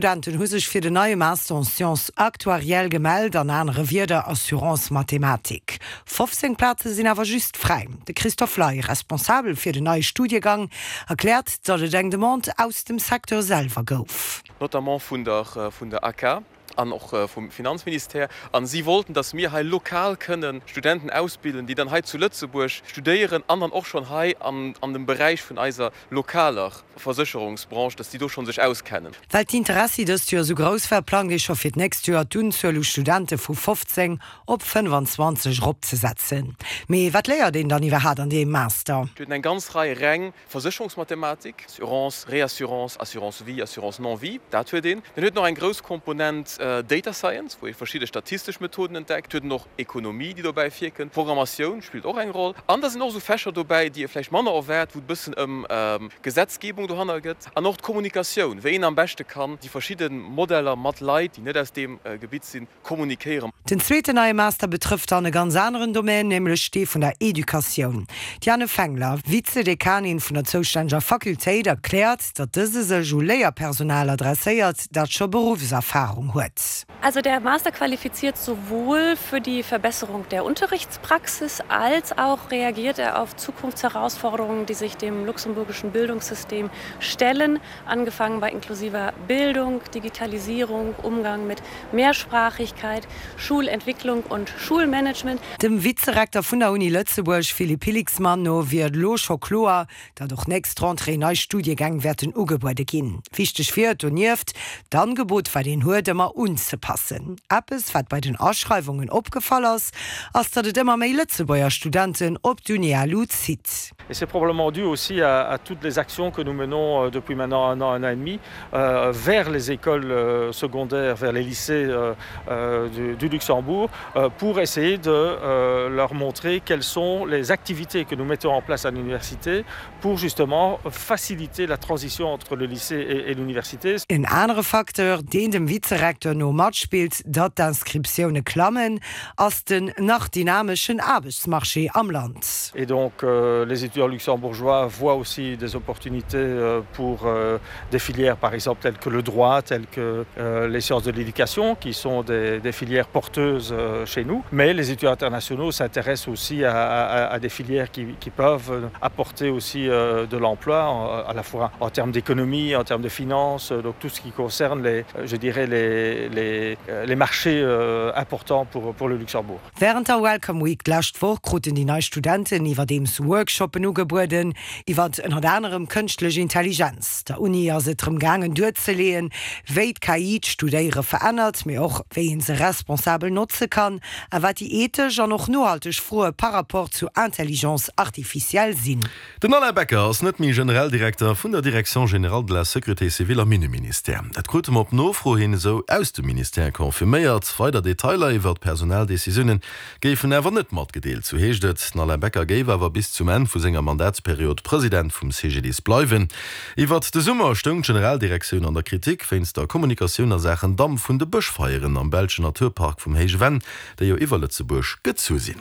Studenten hu sech fir den neie Master en Sciences actuarielles gemellt, an anere Wierder Assurance-Mathematik. 15 Plaze sinn awer just fräi. De Christophe Ley, Responsabel fir den neie Studiegang, erkläert, datt et eng Demande aus dem Secteur selwer gouf. Notamment vun der vun der AK an och vum Finanzministère. A si wollten, datt mir hei lokal kënnen Studenten ausbilden, déi dann hei zu Lëtzebuerg studéieren an dann och schonn hei an an dem Beräich vun eiser lokaler Versécherungsbranche, dass déi do schonn sech auskennen. Well d'Interessi dëst Joer esou grouss war, plangt ee scho fir d'nächst Joer d'Unzuel u Studente vu 15 op 25 eropzesetzen. Mee wat léiert een dann iwwerhaat an deem Master? Et huet en eng ganz Rei reng Versécherungsmathematik, Assurance, Réassurance, Assurance vie, Assurance non-vie, dat huet een. Dann huet en och eng grouss Komponent Data Science, wou ee verschidde statistesch Methoden entdeckt. Et huet en och Ekonomie, déi dobäi virkënnt. Programmatioun spillt och eng Roll. An da sinn och esou Fächer dobäi, déi ee vläicht manner erwaart, wou et e bëssen ëm Gesetzgebung dohanner gëtt an och d'Kommunikatioun, wéi een am beschte kann déi verschidde Modeller mat Leit, déi net aus deem Gebitt sinn, kommunikéieren. Den zweeten neie Master betrëfft dann e ganz aneren Domän, nämlech dee vun der Educatioun. D'Diane Fengler, Vize-Dekanin vun der zoustänneger Fakultéit, erkläert, datt dëse sech u Léierpersonal adresséiert, dat scho Beruffserfarung huet. Also der Master qualifiziert sowohl für die Verbesserung der Unterrichtspraxis als auch reagiert er auf Zukunftsherausforderungen, die sich dem luxemburgischen Bildungssystem stellen, angefangen bei inklusiver Bildung, Digitalisierung, Umgang mit Mehrsprachigkeit, Schulentwicklung und Schulmanagement. Dem Vizerekter vun der Uni Lëtzebuerg Philippe Hillixmann no wier et elo scho kloer, datt och nächst Rentrée nei Studiegäng wäerten ugebuede ginn. Wichteg wier et donieft, d'Angebot, wat een huet, ëmmer unzepassen. Eppes, wat bei den Aschreiwungen opgefall ass, ass, datt et ëmmer méi Lëtzebuerger Studenten op d'UniLu zitt. Et c'est probablement dû aussi à, à toutes les actions que nous menons euh, depuis maintenant un an, un an et demi euh, vers les écoles euh, secondaires, vers les lycées euh, euh, du, du Luxembourg, euh, pour essayer de euh, leur montrer quelles sont les activités que nous mettons en place à l'université pour justement faciliter la transition entre le lycée et, et l'université. En anere Facteur, deen dem Vizerekteur no matspillt, datt d'Inscriptioune klammen, ass den nach dynameschen Aarbechtsmarché am Land. Et donc euh, les étudiants luxembourgeois voient aussi des opportunités euh, pour euh, des filières par exemple telles que le droit, telles que euh, les sciences de l'éducation qui sont des, des filières porteuses euh, chez nous. Mais les étudiants internationaux s'intéressent aussi à, à, à des filières qui, qui peuvent apporter aussi euh, de l'emploi à la fois en termes d'économie, en termes de finances, donc tout ce qui concerne les, je dirais les, les, les marchés euh, importants pour, pour le Luxembourg. Wärend der Welcome Week d'lescht Woch kruten déi nei Studenten iwwerdeems Workshoppen ugebueden iwwert ënnert anerem kënschtlech Intelligenz. Der Uni ass et drëm gaangen duerzeleeën, wéi d'KI d'Studéiere verännert, mee och wéi een se responsabel notze kann a wat déi ethesch an och nohalteg Froe par rapport zu Intelligence artificielle sinn. Den Alain Becker ass net méi Generaldirekter vun der Direction générale de la sécurité civile am Inneministère. Dat krute mer op Nofro hin esou aus dem Ministère confirméiert. Weider Detailer iwwert d'Personaldecisioune géifen awer net matgedeelt, sou heescht et. Den Alain Becker géif awer bis zum Enn vu senger Mandatsperiod President vum CGDIS bleiwen. Iwwert de Summer stoung d'Generaldirektioun an der Kritik wéinst der Kommunikatioun a Saachen Damp vun de Bëschfeieren am belschen Naturpark vum Héije Venn, déi jo iwwer Lëtzebuerg gezu sinn.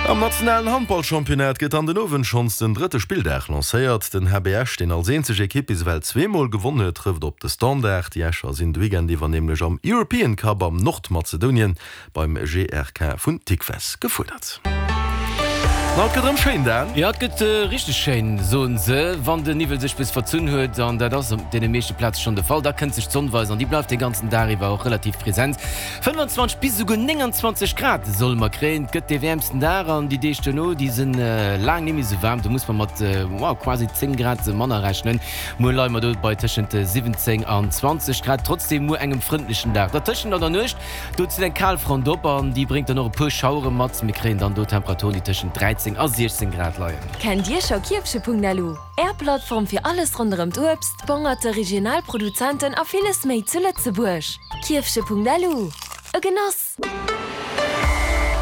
Am nationalen Handballchampionnat gëtt an den Owend schonns den drëtte Spilldag lancéiert. Den HB Esch, deen als eenzeg Ekipp bis ewell zweemol gewonn huet, trëfft op de Standard. Déi Escher sinn de Weekend iwwer nämlech am European Cup am Nordmazedonien beim GRK vun Tikves gefuerdert. Ma et gëtt erëm schéin, Dan. Jo, et gëtt richteg schéin, soen se, wann den Niwwel sech bis verzunn huet, an dat ass op deene meeschte Plaze schonn de Fall. Da kënnt sech d'Sonn weisen an déi bleift de ganzen Dag iwwer och relativ present. 25 bis esouguer 29 Grad solle mer kréien. Et gëtt dee wäermsten Dag an déi Deeg duerno, déi si laang net méi esou waarm. Do muss mer mat quasi 10 Grad manner rechnen. Muer leie mer do bei tëschent 17 an 20 Grad, trotzdem muer engem frëndlechen Dag. Dertëschent an der Nuecht, do zitt eng Kalfront op an déi bréngt dann och e puer Schauere mat. Mir kréien dann do Temperaturen, déi tëschent 13 a 16 Grad leien. Kennt Dir scho Kierfche.lu? Är Plattform fir alles ronderëm d'Uebst, d'Bongerte, regional Produzenten a villes méi zu Lëtzebuerg. Kierfche.lu, E Genoss!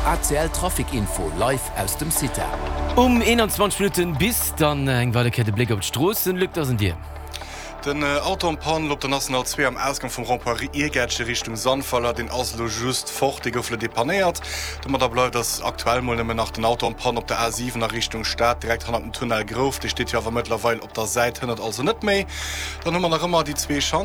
ACL Trafic Info live aus dem CITA. Um 21 Minutten bis dann eng weider Kéier de Bléck op d'Stroossen. Luc, dat ass un dir. Den Auto en panne op der National 2 am Ausgang vum Rond-point Iergäertche Richtung Sandweiler, deen ass elo just fort, dee gouf elo depannéiert. Domadder bleift ass aktuell mol nëmmen nach den Auto en panne op der A7 a Richtung Stad, direkt hannert dem Tunnel Grouf. Dee steet jo awer mëttlerweil op der Säit, hënnert also net méi. Dann hu mer nach ëmmer déi zwee Chantieren.